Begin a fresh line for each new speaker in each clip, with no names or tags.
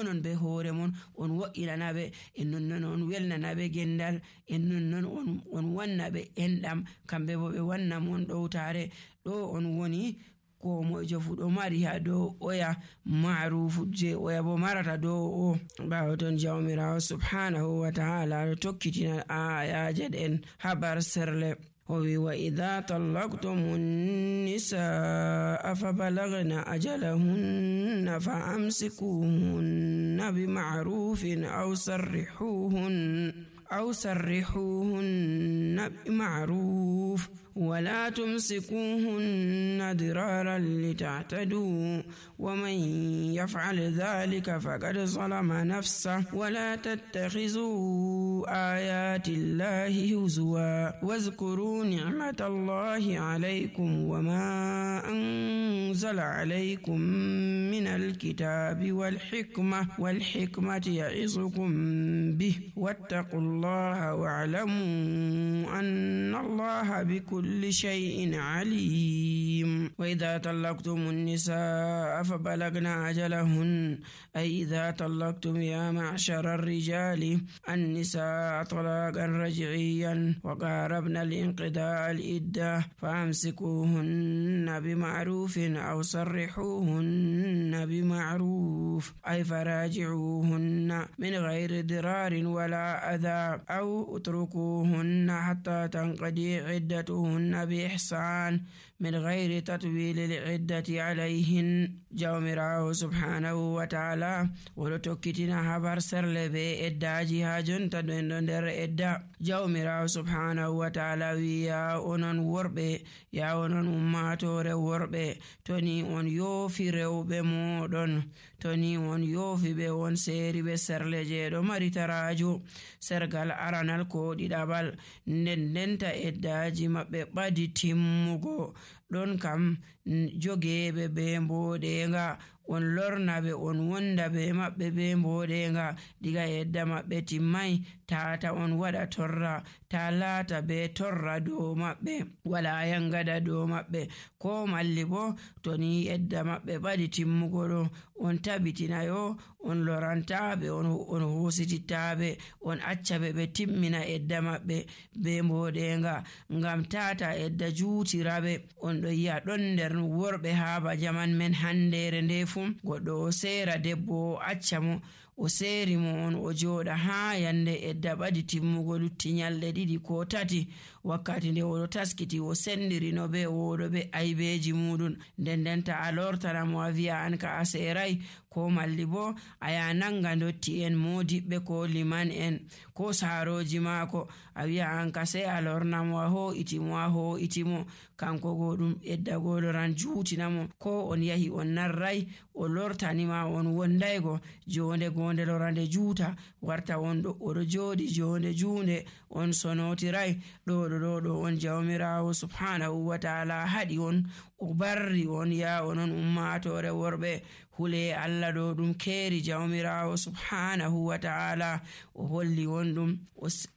onon be hoore mon on wo'inanaɓe, en nonnon on welnanaɓe gendal, en nonnon on wannaɓe enɗam, kamɓe bo ɓe wanna mon ɗowtare. ɗo on woni ko moijo fu ɗo mari ha dow oya ma'rufu je oya bo marata dow o. ɓawo ton jawmirawo subhanahu wa ta'ala ɗo tokkitina ayaje ɗen habar serle. وإذا طلقتم النساء فبلغن أجلهن فأمسكوهن بمعروف أو سرحوهن بمعروف ولا تمسكوهن ضرارا لتعتدوا ومن يفعل ذلك فقد ظلم نفسه ولا تتخذوا آيات الله هزوا واذكروا نعمة الله عليكم وما أنزل عليكم من الكتاب والحكمة يعظكم به واتقوا الله واعلموا أن الله بكل شيء عليم. وإذا طلقتم النساء فبلغن أجلهن أي إذا طلقتم يا معشر الرجال النساء طلاقا رجعيا وقاربن الانقضاء العدة فأمسكوهن بمعروف أو سرحوهن بمعروف أي فراجعوهن من غير ضرار ولا أذى أو اتركوهن حتى تنقضي عدتهن بإحسان من غير تطويل العدة عليهن. jawmirawo subhanahu wa ta'ala woɗo tokkitina habar serle be eddaji ha jonta ɗo en ɗo nder edda. jawmirawo subhanahu wa ta'ala wi ya onon worɓe, ya onon ummatore worɓe, toni on yoofi rewɓe moɗon, toni on yoofi ɓe on seeri ɓe serle je ɗo mari tarajo, sergal aranal ko ɗiɗaɓal, ndenta eddaji maɓɓe ɓadi timmugo, ɗon kam jogeɓe be mboɗenga, on lornaɓe on wonda be maɓɓe be mboɗenga diga edda maɓɓe timmai, tata on waɗa torra, ta laata be torra dow maɓɓe, wala yangada dow maɓɓe, ko malli bo to ni edda maɓɓe ɓadi timmugo ɗo on tabitinayo on lorantaɓe, on hositittaɓe, on accaɓe ɓe timmina edda maɓɓe be mboɗenga, ngam tata edda juutiraɓe. on ɗo yi'a ɗon nder worɓe haaba jaman men handere nde fu goɗɗo o seera debbo o acca mo, o seeri mo on o jooɗa ha yande edda ɓadi timmugo lutti nyalɗe ɗiɗi ko tati, wakkati nde oɗo taskiti o sendirino be oɗo be aybeji muɗum, ndendenta a lortana mo a wi'a an ka a seerai, ko malli bo a ya nanga dotti en modiɓɓe ko liman en ko saaroji maako, a wi'a an ka sei a lorna mo a ho'itimo kanko go ɗum edda goɗoran juutinamo, ko on yahi on narrai o lortanima on wondaygo jonde gonde lorande juuta warta on ɗo oɗo jooɗi jonde juunde on sonotirai. ɗo on jawmirawo subhanahu wa ta'ala haɗi on, o barri on ya onon ummatore worɓe, hule Allah ɗo ɗum keeri jawmirawo subhanahu wa ta'ala, o holli on ɗum,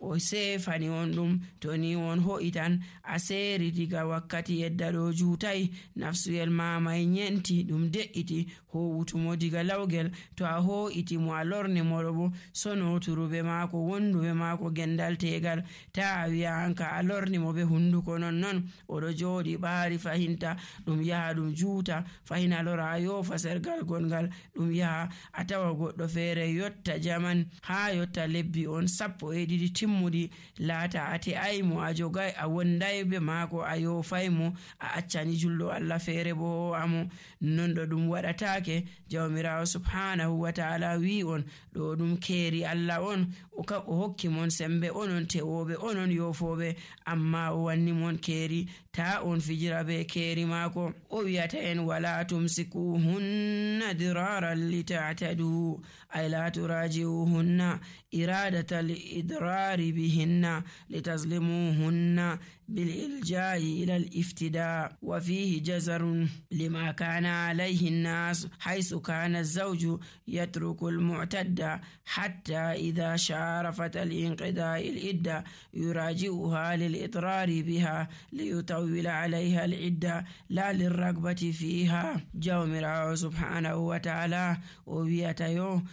o sefani on ɗum, to ni on ho'itan a seeri diga wakkati yedda ɗo juutai, nafsuyel mamai nyenti ɗum de'iti howutumo diga lawgel, to a ho'iti mo a lorni moɗo bo sonoturuɓe maako wonduɓe maako gendal tegal, ta a wi'a an ka a lorni mo be hunduko non oɗo jooɗi ɓaari fahinta ɗum yaha ɗum juuta, fahina lora a yofa sergal gongal, ɗum yaha a tawa goɗɗo feere yotta jaman ha yotta lebbi on 12 timmuɗi, laata a te'aymo, a jogay a wonday be maako, a yofaymo, a accani julɗo Allah feere bo amo, non ɗo ɗum waɗatake. jawmirawo subhanahu wa ta'ala wi on ɗo ɗum keeri Allah on, o hokki mon sembe onon tewoɓe onon yofoɓe, amma o wanni mon keeri, ta on fijira be keeri maako. o wiyata en wala tumsikuhunna diraran litatadu ay la turaji'uhunna iradatal idrari bihinna litazlimuhunna بالإلجاء إلى الافتداء وفيه جزر لما كان عليه الناس حيث كان الزوج يترك المعتدة حتى إذا شارفت الانقضاء العدة يراجعها للإضرار بها ليطول عليها العدة لا للرغبة فيها. jawmirawo subhanahu wa ta'ala o wiyata yo